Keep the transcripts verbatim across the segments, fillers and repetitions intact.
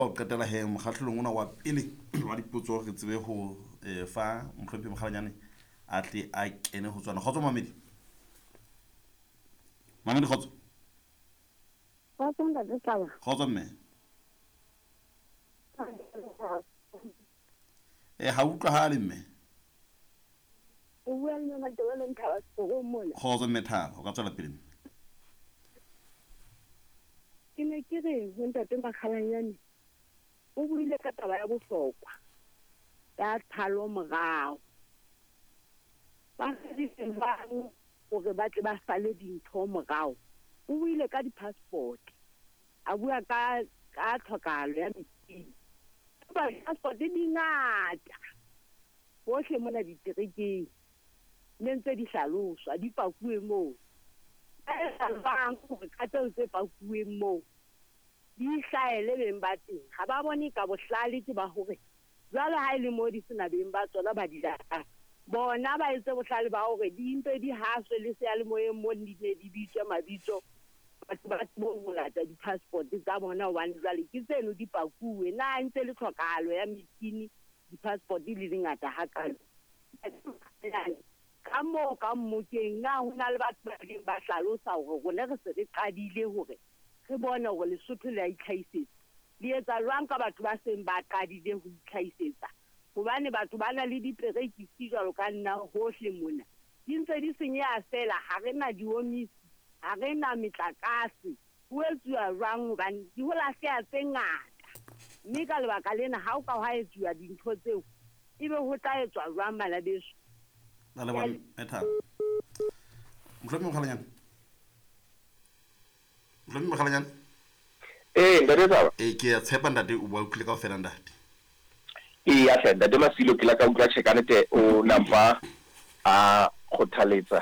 Ho qetela he mokgahlelong ona wa pele wa dipotso re tsebe ho eh, fa mohlomphehi Mokgalanyane a tle a kene ho tsona. Kgotso mamedi. Mamedi kgotso. Kgotso ntate Tlaba. Kgotso mme. Eh ha utlwahale mme. O bua le Mme Matebeleng Thaba setorong mona. Kgotso mme Thaba, o ka tswela pele mme. Ke ne ke re ho ntate Makgalanyane o buile ka taba ya bohlokwa ya tshalo morao. Ba rerile jwang hore ba tle ba sale dintho morao? O buile ka di-passport, a bua ka ka tlhokahalo ya metjhini. Empa di-passport di ngata hohle mona diterekeng, ne ntse di hlaloswa, di pakuwe moo. Ba etsa jwang hore ka tseo tse pakuweng moo di hlahele beng ba teng? Ha ba bone ka bohlale ke ba hore jwale ha e le moo di sena beng ba tsona ba di lahlang, bona ba etse bohlale ba hore di mpe di haswe le seyalemoyeng mo di ne di bitswe mabitso, batho ba tsebe ho lata di-passport tsa bona, hobane jwale ke tseno di pakuwe. Na ntse le tlhokahalo ya metjhini, di-passport di le dingata hakalo? Ka moo ka mmokeng, na ho na le batho ba ileng ba hlalosa hore rona re se re qadile hore re bone hore Lesotho le a itlhahisetsa? Le etsa jwang ka batho ba seng ba qadile ho itlhahisetsa? Hobane batho ba na le diperekisi jwalo ka nna hohle mona, di ntse di senyeha feela. Ha re na diomisi, ha re na metlakase. Ho etsuwa jwang? Hobane di ho lahleha tse ngata, mme ka lebaka lena ha o ka hwa etsuwa dintho tseo, ebe ho tla etswa jwang bana beso? Ra leboha mme Thaba. Mohlomphehi Mokgalanyane. Mohlomphehi Mokgalanyane. Ee, ntate Thaba. Eh ke a tshepa ntate o bua utlwile kaofela ntate. Ee, ya hle ntate Masilo, ke la ka utlwa tjhe ka nnete o nampa a kgothaletsa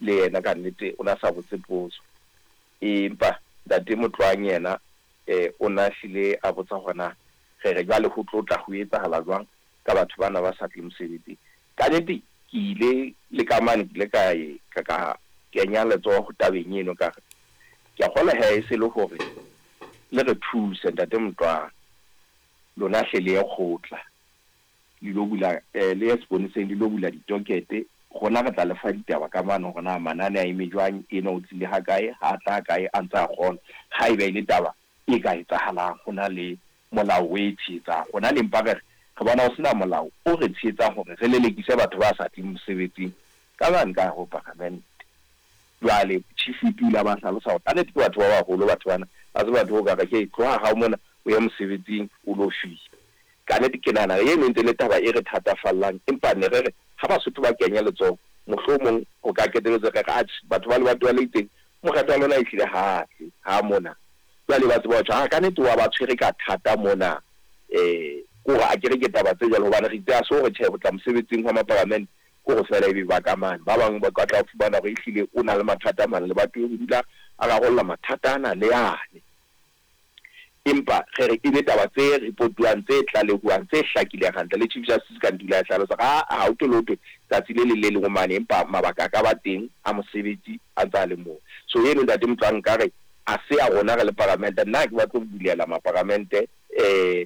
le yena ka nnete, o na sa botse potso. Empa ntate Motlwang yena eh o na hlile a botsa hona re re jwale ho tlo tla ho etsahala jwang ka batho bana ba sa tle mosebetsing. Ka nnete ke ile le ka mane, ke ile ka e ka ka kenya letsoho tabeng eno, ka re ke a kgolwa he e se le hore le re thuse ntate Motlwang, lona hle le ye kgotla le lo bula eh, le ye seponeseng le lo bula ditokete, rona re tla le fa ditaba ka mane hore na manane a eme jwang, ena o tlile ha kae, ha tla kae, a ntse a kgona. Haeba e le taba e ka etsahalang, ho na le molao o e tshehetsang. Rona le mpa re re re bona ho sena molao o re tshehetsang hore re lelekise batho ba sa tleng mosebetsing ka mane ka ho paramente. Jwale chief whip o ile a ba hlalosa hore kannete ke batho ba baholo batho bana, ha se batho o ka re ke tloha hao mona o ye mosebetsing o lo fihla. Ka nnete ke nahana eno e ntse le taba e re thatafallang, empa ne re re ha Basotho ba kenya letsoho mohlomong ho ka qetelletse re re atjhe batho ba lebatowa le itseng mokgatlo wa lona ehlile ha tle ha mona. Jwale ba tseba ho tjho, ha ka nnete wa ba tshwere ka thata mona, eh kore a kere ke taba tse jwalo, hobane re itse ha se hore tjhe ho tla mosebetsing wa maparamente kore feela ebe ba ka mane. Ba bang ba ka tla fumana hore ehlile o na le mathata a mang, lebatoweng ho dula a rarolla mathata ana le yane. Empa re re ebe taba tse reportuwang, tse tlalehuwang, tse hlakileng hantle. Le Chief Justice ka ntula ya hlalosa ha ha o thole ho thwe tsatsi le leng le leng o mane, empa mabaka a ka ba teng a mosebetsi a ntse a le moo. So eno ntate Motlwang nkare a se ya rona re le paramente. Nna ha ke batle ho bulela maparamente, eh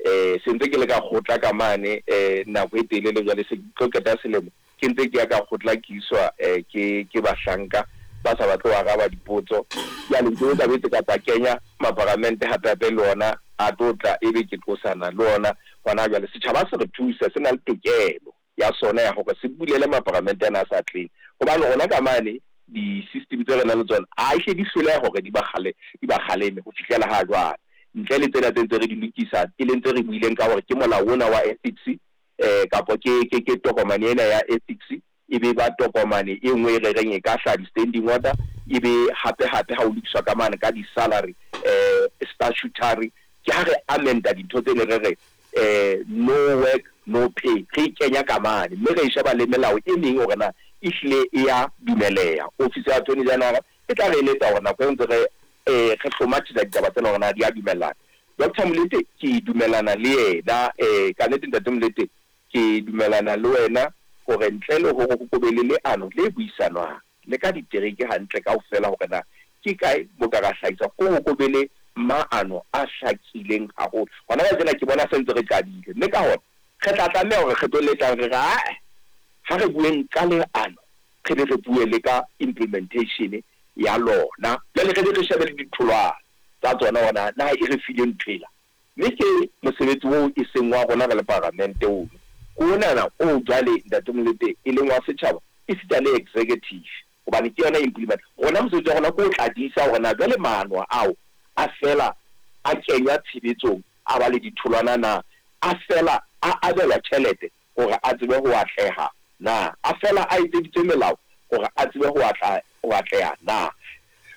eh se ntse ke le ka kgotla ka mane eh nako e telele jwale, se tlo qeta selemo ke ntse ke ya ka kgotla ke iswa eh ke ke bahlanka ba sa batle ho araba dipotso. Jwale ntho ka betse ka tsa kenya maparamente hape hape le ona a tlo tla ebe ke tlosana le ona hona jwale. Setjhaba se re thusa, se na le tokelo ya sona ya hore se bulele maparamente ana a sa tleng, hobane rona ka mane di-system tse re nang le tsona a hle di hloleha hore di ba kgale di ba kgaleme ho fihlela ha jwale, ntle le tsena tse ntse re di lokisa, e leng tse re buileng ka hore ke molao ona wa ethics eh kapo ke ke ke tokomane ena ya ethics, e be ba tokomane e nngwe e re reng e ka hlaha di-standing order, e be hape hape ha o lokiswa ka mane ka di-salary eh statutory, ke ha re amenda dintho tse ne re re eh no work no pay, re e kenya ka mane, mme re e sheba le melao e meng hore na ehlile e ya dumeleha. Office ya Attorney General e tla re eletsa hore nako e ntse re eh re hlomathisa ditaba tsena hore na di a dumellana. Doctor Molete ke dumellana le yena, eh ka nnete ntate Molete ke dumellana le wena hore ntle le hore ho be le leano le buisanwang le ka ditereke hantle kaofela hore na ke kae mo ka ra hlahisa, ko ho be le maano a hlakileng haholo. Hona jwale tsena ke bona se ntse re qadile, mme ka hona re tla tlameha hore kgetho le tlang re re ae ha re bueng ka leano, re be re bue le ka implementation ya lona. Jwale re be re shebe le ditholwana tsa tsona hore na e re file ntho ela. Mme ke mosebetsi oo e seng wa rona re le paramente ono, ke onana o jwale Ntate Molete e leng wa setjhaba esita le executive, hobane ke yona implement. Rona mosebetsi wa rona ke o tladisa hore na jwale maano ao a fela a kenywa tshebetsong, a ba le ditholwana na, a fela a abelwa tjhelete hore a tsebe ho atleha na, a fela a etseditswe melao hore a tsebe ho atla ho atleha na.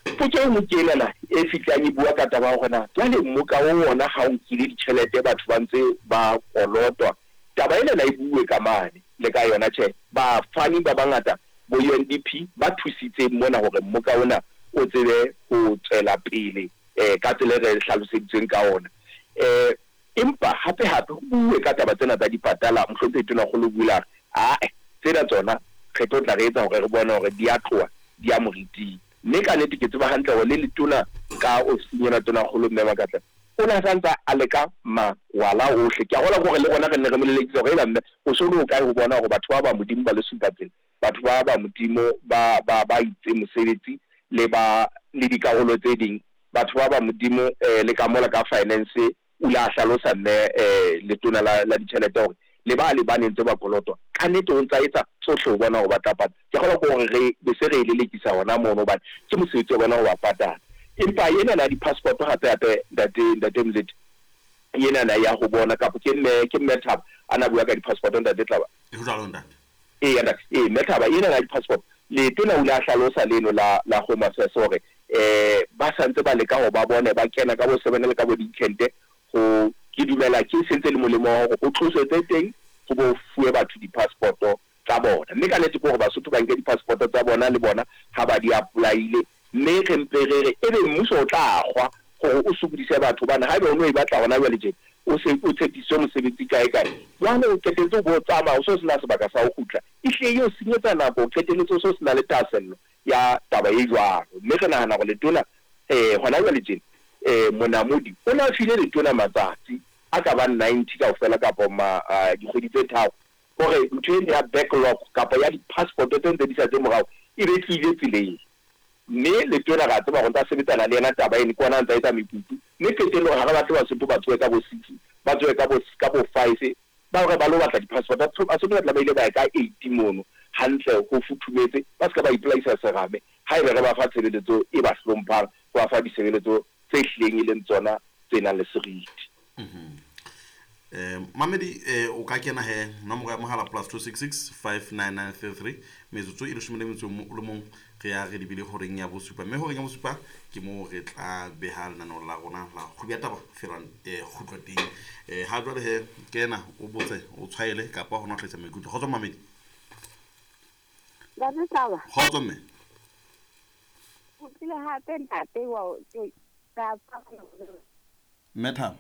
Potso e nngwe ke enana e fihlang e bua ka taba ya hore na jwale mmoka o ona ha o nkile ditjhelete batho ba ntse ba kolotwa, taba enana e bue ka mane le ka yona. Tjhe, bafani ba bangata bo U N D P ba thusitse mona hore mmoka ona o tsebe ho tswela pele eh ka tsela e re hlaloseditsweng ka ona. Eh empa hape hape ho bue ka taba tsena tsa dipatala, mohlomphehi Tonakgolo o bula a re ae tsena tsona re tlo tla re etsa hore re bone hore di a tloha di a moriting. Mme ka nnete ke tseba hantle hore le letona ka ofising ena Tonakgolo Mme Makatla o ne a santsa a leka mawala ohle. Ke a kgolwa hore le rona re ne re mo lelekisa hore eba mme o so le o kae ho bona hore batho ba ba Modimo ba le supa tsela, batho ba ba Modimo ba ba ba itse mosebetsi le ba le dikarolo tse ding, batho ba ba Modimo eh le ka mola ka finance o ile a hlalosa mme eh letona la la ditjhelete hore le ba le ba nentse ba kolotwa ka nnete o ntsa etsa tsohle ho bona hore ba tla patala. Ke kgolwa hore re be se re e lelekisa hona mono hobane ke mosebetsi wa bona ho ba patala. Empa ena na di-passport hape hape ntate ntate Molete, ena na ya ho bona kapa ke mme ke mme Thaba a na bua ka di-passport ntate Tlaba. E ho jwalo ntate. Ee ntate, ee mme Thaba ena na di-passport letona o ile a hlalosa leno la la Home Affairs hore eh ba santse ba leka ho ba bone ba kena ka bo seven le ka bo dikente ho ke dumela ke sentse le molemo wa hore ho tloswe tse teng ho bo fuwe batho di-passport tsa bona. Mme ka nnete ke hore Basotho ba nke di-passport tsa bona le bona ha ba di apply-ile, mme re mpe re re ebe mmuso o tla kgwa hore o sokodise batho hobane haeba o no e batla hona jwale tje o se o tshepisitswe mosebetsi kae kae, jwale o qetelletse o bo tsamaya o so sena sebaka sa ho kgutla, ehlile e o senyetsa nako, o qetelletse o so sena le thahasello ya taba e jwalo. Mme re nahana hore letona eh hona jwale tjena eh Monamodi o na file letona matsatsi a ka bang ninety kaofela kapa ma dikgwedi tse tharo hore ntho ena ya backlog kapa ya di-passport tse ntse di sa tse morao e be tlile tseleng. Mme letona ra tseba hore ntsa sebetsana le yena taba eno, ke ona a ntsa etsa mekutu. Mme qetellong ha re batle Basotho ba tsohe ka bo six, ba tsohe ka bo ka bo five, ba hore ba lo batla di-passport. Basotho ba tla ba ile ba ya ka eight mono hantle ho futhumetse, ba se ka ba ipolaisa serame haebe re ba fa tshebeletso e ba hlomphang, ho ba fa ditshebeletso tse hlileng e leng tsona tse nang le seriti. Mhm. Eh Mamedi eh o ka kena he nomoro ya mohala plus two six six five nine nine three three metsotso e leshome le metso o le mong re ya re dibile horeng ya bosupa, mme horeng ya bosupa ke mo re tla beha lenaneo la rona la kgwedi ya taba felang eh kgutlo teng. Eh ha jwale he kena o botse o tshwaele kapa hona tlisa maikutlo. Kgotso Mamedi. Ntate Tlaba. Kgotso mme. O tlile hape ntate wa ka Mme Thaba.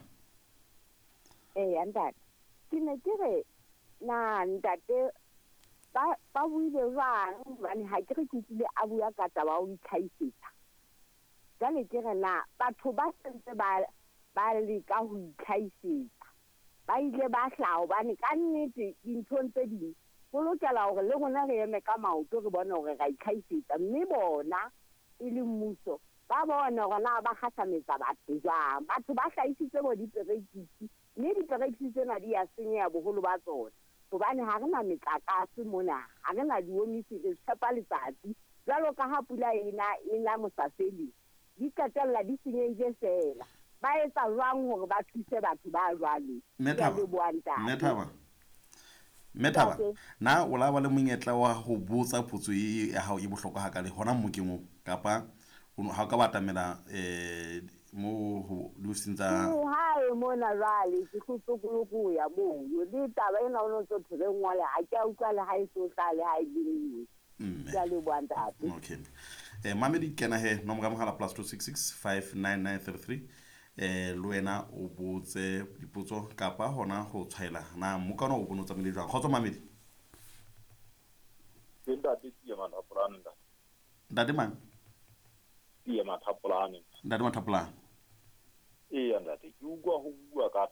Ee ntate, ke ne ke re na ntate ba ba buile jwang hobane ha ke re ke utlwile a bua ka taba ya ho itlhahisetsa. Jwale ke re na batho ba sentse ba ba leka ho itlhahisetsa ba ile ba hlaha hobane ka nnete dinthong tse ding ho lokela hore le rona re eme ka maoto re bone hore ra itlhahisetsa, mme bona e le mmuso ba bone hore na ba kgahlametsa batho jwang. Batho ba hlahisitse bo diperekisi, mme diperekisi tsena di a senyeha boholo ba tsona hobane ha re na metlakase mona, ha re na diomisi, re tshepa letsatsi. Jwalo ka ha pula ena e na mosafeli, di qetella di senyehile feela. Ba etsa jwang hore ba thuse batho ba jwalo? Mme Thaba, Mme Thaba, na o la ba le monyetla wa ho botsa potso e ya hao e bohlokwa hakale hona mmokeng oo, kapa ha o ka ba atamela eh mo ho diofising tsa hae mona jwale ke kgutlo ya mono le taba ena o no ntso thwe ngole ha ke a utlwa le ha e so hlale ha e le mme ke a leboha ntate. Okay. Eh Mamedi kena he nomoro ya mohala plus two six six five nine nine three three eh le wena o botse dipotso kapa hona ho tshwaela na mokana o bone o tsamaile jwang. Kgotso Mamedi. Ke ntate Tia Mathapolane ntate. Ntate mang? Tia Mathapolane. Ntate Mathapolane. Eya ntate, ke utlwa ho bua ka